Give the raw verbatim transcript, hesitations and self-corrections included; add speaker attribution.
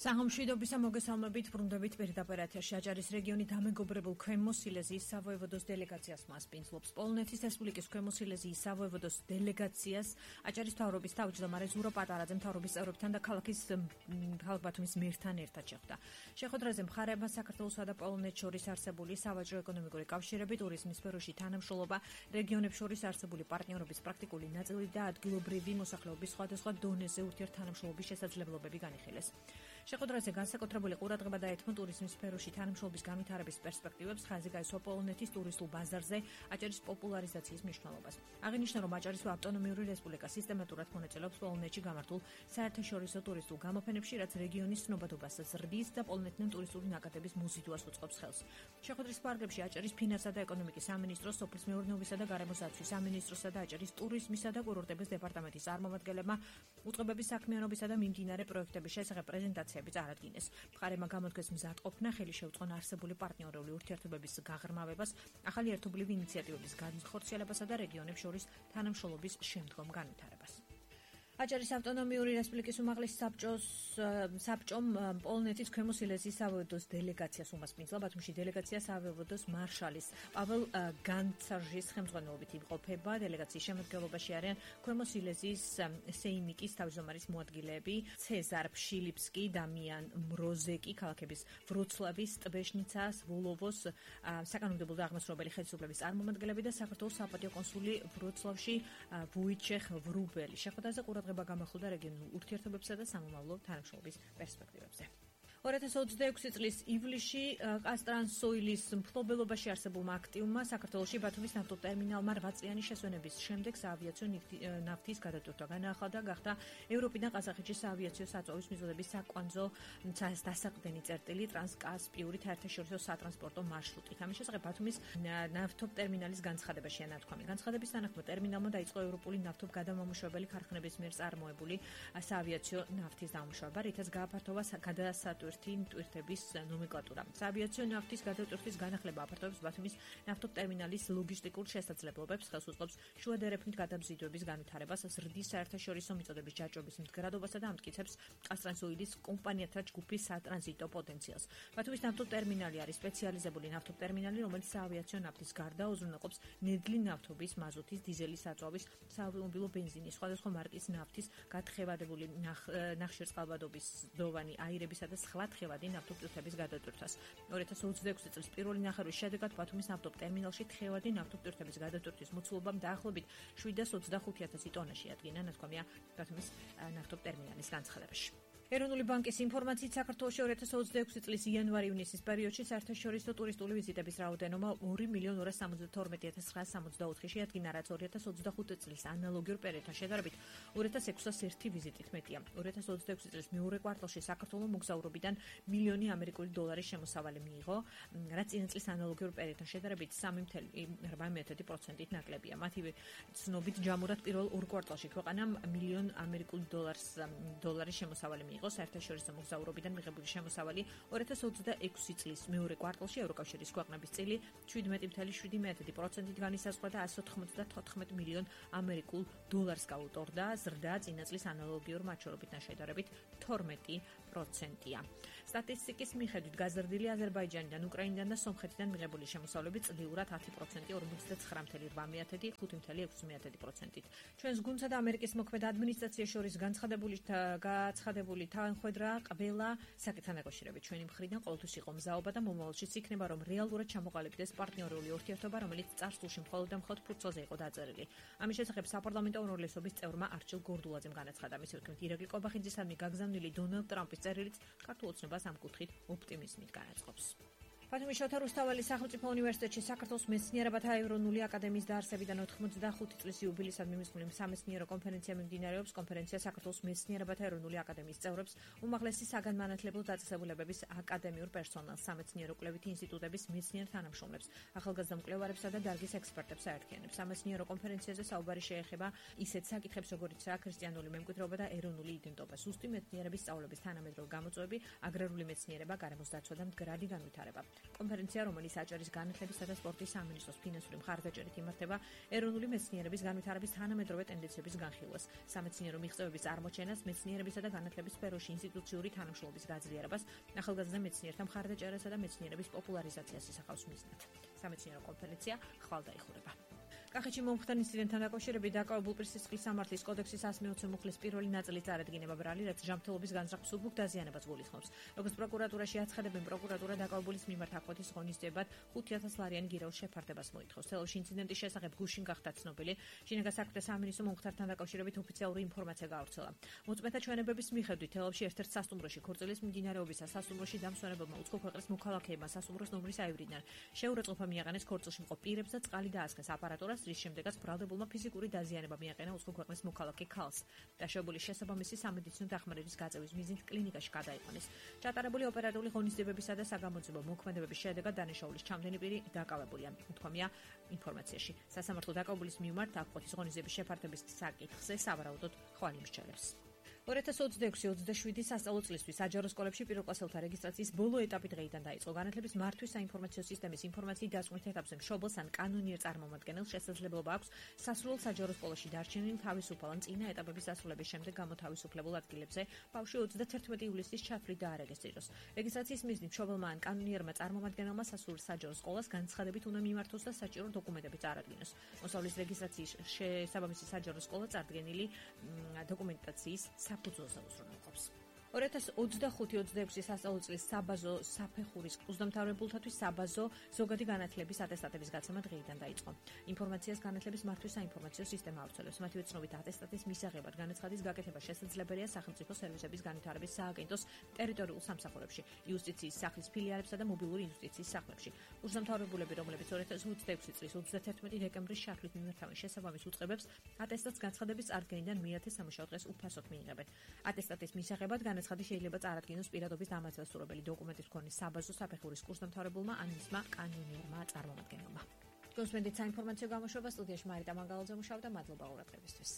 Speaker 1: საღამშვიდობისა მოგესალმებით, ბრუნდებით პირდაპირ ეთერში აჭარის რეგიონი დამეგობრებულ ქვემო სილეზიის სავოევოდოს დელეგაციას მასპინძლობს. პოლონეთის რესპუბლიკის ქვემო სილეზიის სავოევოდოს დელეგაციას აჭარის მთავრობის თავმჯდომარე ზურო პატარაძე მთავრობის წევრებთან და ქალაქის ქალაქ ბათუმის მერთან ერთად შეხვდა. შეხვედრაზე მხარეებმა საქართველოსა და პოლონეთს შორის არსებული სავაჭრო-ეკონომიკური კავშირები, ტურიზმის სფეროში თანამშრომლობა, რეგიონებს შორის არსებული პარტნიორობის პრაქტიკული ნაწილი და ადგილობრივი მოსახლეობის სხვადასხვა დონეზე ურთიერთთანამშრომლობის შესაძლებლობები განიხილეს. შეხვედრაზე განსაკუთრებული ყურადღება დაეთმო ტურიზმის სფეროში თანამშრომლობის განვითარების პერსპექტივებს, ხაზი გაისვა პოლონეთის ტურისტულ ბაზარზე აჭარის პოპულარიზაციის მნიშვნელობას. აღინიშნა, რომ აჭარის ავტონომიური რესპუბლიკა სისტემატურად მონაწილეობს პოლონეთში გამართულ საერთაშორისო ტურისტულ გამოფენებში, რაც რეგიონის ცნობადობას ზრდის და პოლონეთიდან ტურისტული ნაკადების მოზიდვას უწყობს ხელს. შეხვედრის პარაგრაფში აჭარის ფინანსთა და ეკონომიკის სამინისტროს, სოფლის მეურნეობისა და გარემოს დაცვის სამინისტროსა და აჭარის ტურიზმისა და კურორტების დეპარტამენტის წარმომადგენლებმა უწყებების საქმიანობისა და მიმდინარე პროექტების შესახებ პრეზენტაციები წარადგინეს. მხარეებმა გამოთქვეს მზადყოფნა, ხელი შეუწყონ არსებული პარტნიორული ურთიერთობების გაღრმავებას, ახალი ერთობლივი ინიციატივების განხორციელებასა და რეგიონებს შორის თანამშრომლობის შემდგომ განვითარებას. აჭარის ავტონომიური რესპუბლიკის უმაღლესი საბჭოს საბჭომ პოლონეთის ქვემო სილეზიის სავოევოდოს დელეგაციას უმასპინძლა. ბათუმში დელეგაცია სავოევოდოს მარშალის პაվել განცაჟის ხელმძღვანელობით იმყოფება. დელეგაციის შემადგენლობაში არიან ქვემო სილეზიის სეიმიკის თავმჯდომარის მოადგილეები ცეზარ ფშილიფსკი, დამიან მროზეკი, ქალაქების ვროცლავის, ტბეშნიცას, ვოლოვოს საკანონმდებლო და აღმასრულებელი ხელისუფლების წარმომადგენლები და საქართველოს საპატიო კონსული ვროცლავში ვუიჩეხ ვრუბელი. შეხვედრაზე ყურადღება გამახვილდა რეგიონულ ურთიერთობებსა და სამომავლო თანამშრომლობის პერსპექტივებზე. ორი ათას ოცდაექვსი წლის ივლისში კასტრანსოილის მფლობელობაში არსებულმა აქტივმა საქართველოში ბათუმის ნავთობტერმინალმა რვა წლიანი შესვენების შემდეგ საავიაციო ნავთის გადატვირთვა განაახლა და გახდა ევროპიდან ყაზახეთში საავიაციო საწვავის მიზნების საკვანძო დასაყრდენი წერტილი ტრანსკასპიური საერთაშორისო სატრანსპორტო მარშრუტით. ამის შესახებ ბათუმის ნავთობტერმინალის განცხადებაშია ნათქვამი. განცხადების თანახმად ტერმინალმა დაიწყო ევროპული ნავთობგადამამუშავებელი ქარხნების მიერ წარმოებული საავიაციო ნავთის დამუშავება, რითაც გააფართოვა გადასატვირთვა ტვირთების ნომენკლატურა. საავიაციო ნავთის გადატვირთვის განახლება აფართოვებს ბათუმის ნავთობტერმინალის ლოგისტიკურ შესაძლებლობებს, ხელს უწყობს შუადერეფნით გადამზიდვების განვითარებას, ზრდის საერთაშორისო მიწოდების ჯაჭვების მდგრადობასა და ამტკიცებს კასტრანსოილის კომპანიათა ჯგუფის სატრანზიტო პოტენციალს. ბათუმის ნავთობტერმინალი არის სპეციალიზებული ნავთობტერმინალი, რომელიც საავიაციო ნავთის გარდა უზრუნველყოფს ნედლი ნავთობის, მაზუთის, დიზელის საწვავის, საავტომობილო ბენზინის, სხვადასხვა მარკის ნავთის, გათხევადებული ნახშირწყალბადობის დოვანი, აირებისა და სხვა თხევადი ნავთობტვირთების გადატვირთვას. ორი ათას ოცდაექვსი წლის პირველი ნახევრის შედეგად ბათუმის ნავთობტერმინალში თხევადი ნავთობტვირთების გადატვირთვის მოცულობამ დაახლოებით შვიდას ოცდახუთი ათასი ტონა შეადგინა, ნათქვამია ბათუმის ნავთობტერმინალის განცხადებაში. ეროვნული ბანკის ინფორმაციით საქართველოში ორი ათას ოცდაექვსი წლის იანვარი-ივნისის პერიოდში საერთაშორისო ტურისტული ვიზიტების რაოდენობა ორი მილიონი ორას სამოცდათორმეტი ათას ცხრაას სამოცდაოთხი შეადგინა, რაც ორი ათას ოცდახუთი წლის ანალოგიურ პერიოდთან შედარებით ორი ათას ექვსას ერთი ვიზიტით მეტია. ორი ათას ოცდაექვსი წლის მეორე კვარტალში საქართველოს მოგზაურობიდან მილიონი ამერიკული დოლარის შემოსავალი მიიღო, რაც წინა წლის ანალოგიურ პერიოდთან შედარებით სამი წუთი რვა პროცენტით ნაკლებია. მათივე ცნობით ჯამურად პირველ ორ კვარტალში ქვეყანამ მილიონ ამერიკული დოლარს დოლარის შემოსავალი მიიღო. საერთაშორისო მოგზაურობიდან მიღებული შემოსავალი ორი ათას ოცდაექვსი წლის მეორე კვარტალში ევროკავშირის ქვეყნების წილი შვიდმეტი წუთი შვიდი პროცენტით განისაზღვრა და ასი ოცდათოთხმეტ მილიონ ამერიკულ დოლარს გაუტორდა, ზრდა წინა წლის ანალოგიურ მაჩვენებებთან შედარებით თორმეტი პროცენტია. სტატისტიკის მიხედვით გაზრდილი აზერბაიჯანიდან, უკრაინიდან და სომხეთიდან მიღებული შემოსავლები წლიურად ათი პროცენტი ორმოცდაცხრა წუთი რვა ხუთი ექვსი პროცენტით. ჩვენს გუნდსა და ამერიკის მოქმედ ადმინისტრაციას შორის განცხადებული გაცხადებული თანხმედრა ყველა საკითხთან დაკავშირებით ჩვენი მხრიდან ყოველთვის იყო მზაობა და მომავალშიც იქნება, რომ რეალურად ჩამოყალიბდეს პარტნიორული ურთიერთობა, რომელიც წარსულში მხოლოდ და მხოლოდ ფურცელზე იყო დაწერილი. ამის შესახებ საპარლამენტო უმრავლესობის წევრმა არჩილ გორდულაძემ განაცხადა. მის თქმით, ირაკლი ყობახიძისადმი გაგზავნილი დონალდ ტრამპის წერილიც ქართულ ოცნებას ამ კუთხით ოპტიმიზმით განაწყობს. ბათუმის შოთა რუსთაველის სახელმწიფო უნივერსიტეტში საქართველოს მეცნიერებათა ეროვნული აკადემიის დაარსებიდან ოთხმოცდახუთი წლის იუბილეისადმი მიმსვლელი სამეცნიერო კონფერენცია მიმდინარეობს. კონფერენცია საქართველოს მეცნიერებათა ეროვნული აკადემიის წევრებს, უმაღლესი საგანმანათლებლო დაწესებულებების აკადემიურ პერსონალს, სამეცნიერო კვლევითი ინსტიტუტების მეცნიერ თანამშრომლებს, ახალგაზრდა მკვლევარებსა და დარგის ექსპერტებს აერთიანებს. სამეცნიერო კონფერენციაზე საუბარი შეეხება ისეთ საკითხებს, როგორიცაა ქრისტიანული მემკვიდრეობა და ეროვნული იდენტობა, სუსტი მეცნიერების სწავლების თანამედროვე გამოწვევები, აგრარული მეცნიერება, გარემოს დაცვა და მდგრადი განვითარება. კონფერენცია, რომელიც აჭარის განათლებისა და სპორტის სამინისტროს ფინანსური მხარდაჭერით იმართება, ეროვნული მეცნიერების განვითარების თანამედროვე ტენდენციების განხილვას, სამეცნიერო მიღწევების წარმოჩენას, მეცნიერებისა და განათლების სფეროში ინსტიტუციური თანამშრომლობის გაძლიერებას, ახალგაზრდა მეცნიერთა მხარდაჭერასა და მეცნიერების პოპულარიზაციას ისახავს მიზნად. სამეცნიერო კონფერენცია ხვალ დაიხურება. კახეთში მომხდარ ინციდენტთან დაკავშირებით დაკავებულ პირსისხლის სამართლის კოდექსის εκατს მეოცე მუხლის პირველი ნაწილის წარადგინება ბრალი, რაც ჯანმრთელობის განზრახვის სუბუქ დაზიანებას გულისხმობს. როგორც პროკურატურაში აცხადებენ, პროკურატურა დაკავებულის მიმართ აფხოთის ღონისძიებად ხუთი ათას ლარიანი გირაოს შეფარდებას მოითხოვს. თელავში ინციდენტის შესახებ გუშინ გახდა ცნობილი. შინაგან საქმეთა სამინისტრო მომხდართან დაკავშირებით ოფიციალური ინფორმაცია გაავრცელა. მოწმეთა ჩვენებების მიხედვით თელავში ერთ-ერთ სასტუმროში ქორწილის მიმდინარეობისას სასტუმროში დამსვენებელმა უცხო ქვეყნის მოქალაქეებმა სასტუმროს ნომრის აივრიდან. შეურაცხყოფა მიაყენეს ქორწილში მყოფ პირებს და წყალი დაასხეს აპარატურას, რის შემდეგაც ბრალდებულმა ფიზიკური დაზიანება მიაყენა უცხო ქვეყნის მოქალაქე ქალს. დაშავებულის შესაბამისი სამედიცინო დახმარების გაწევის მიზნით კლინიკაში გადაიყვანეს. ჩატარებული ოპერატიული ღონისძიებებისა და საგამოძიებო მოქმედებების შედეგად დანაშაულის ჩამდენი პირი დაკავებულია. უთქვამია ინფორმაციაში. სასამართლო დაკავებულის მიმართ აფხოთის ღონისძიების შეფარდების საკითხზე სავარაუდოდ ხვალ იმსჯელებს. ორი ათას ოცდაექვსი ოცდაშვიდი სასწავლო წლისთვის საჯარო სკოლებში პირველკლასელთა რეგისტრაციის ბოლო ეტაპი დღეიდან დაიწყო. განათლების მართვის საინფორმაციო სისტემის ინფორმაციის დასკვნის ეტაპზე მშობელს ან კანონიერ წარმომადგენელს შესაძლებლობა აქვს სასრულო საჯარო სკოლაში დარჩენილ თავისუფალ ან წინა ეტაპების დასრულების შემდეგ გამოთავისუფლებულ ადგილებზე ბავშვი ოცდათერთმეტი ივლისის ჩათვლით დაარეგისტრიროს. რეგისტრაციის მიზნით მშობელმა ან კანონიერმა წარმომადგენელმა სასულო საჯარო სკოლას განცხადებით უნდა მიმართოს და საჭირო დოკუმენტები წარადგინოს. მოსავლის რეგისტრაციის შესაბამისი საჯარო სკოლა წარდგენილი დოკუმენტაციის საფუძველზე უზრუნველყოფს. ორი ათას ოცდახუთი ოცდაექვსი სასწავლო წლის საბაზო საფეხურის კურსდამთავრებულთათვის საბაზო ზოგადი განათლების ატესტატების გაცემა დღეიდან დაიწყო. ინფორმაციას განათლების მართვის საინფორმაციო სისტემა ავრცელებს. მათივე ცნობით ატესტატის მისაღებად განაცხადის გაკეთება შესაძლებელია სახელმწიფო სერვისების განვითარების სააგენტოს ტერიტორიულ სამსახურებში, იუსტიციის სახლის ფილიალებსა და მობილური იუსტიციის სახლებში. კურსდამთავრებულები, რომლებიც ორი ათას ოცდაექვსი წლის ოცდათერთმეტი დეკემბრის შაქრით მიმართავენ შესაბამის უწყებებს, ატესტატს განცხადების წარდგენიდან მეათე სამუშაო დღეს უფასოდ მიიღებენ. ატესტატის მისაღებად განაცხადი შეიძლება წარადგინოს პირადობის დამათავსებელი დოკუმენტის მქონე საბაზო საფეხურის კურსდამთავრებულმა ან მისმა კანონიერმა წარმომადგენელმა. გოსმენდით საინფორმაციო გამოშვება სტუდიაში მარიტა მანგალაძე მუშაობდა. მადლობა ყურადღებისთვის.